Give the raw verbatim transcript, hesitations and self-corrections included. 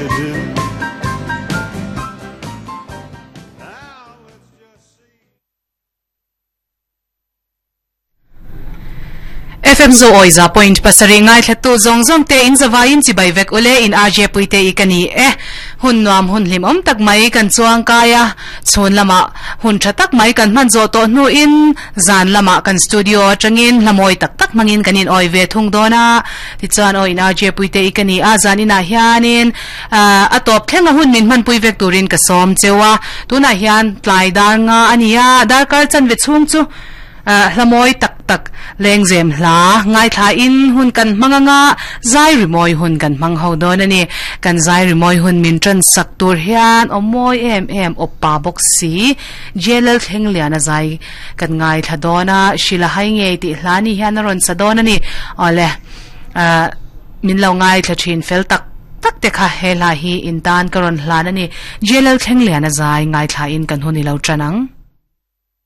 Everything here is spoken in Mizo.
to do. F M zo oi za point pasari ngai thatu zong zong te in zawain chi bai vek ule in R J puite ikani e hun nuam hun hlim om tak mai kan chuang kaya chhun lama hun tha tak mai kan man zo to nu in zan lama kan studio atangin lamoi tak tak mangin kanin oi ve thung dona ti chuan oi in R J puite ikani a zan ina hianin a top thlenga hun min man pui vek turin ka som chewa tuna hian tlai dar nga ania dar kar chan ve chung chu hlamoi tak tak lengzem hla ngai tha in hun kan manganga zai rimoi hun kan mang ho don ani kan zai rimoi hun min tran sak tur hian omoi em em oppa box si jelal thlengliana zai kan ngai tha dona shila hai nge ti hlani hian ron sa don ani ole min lo ngai thla thin fel tak tak te kha hela hi in tan karon hlan ani jelal thlengliana zai ngai tha in kan huni lo tranang.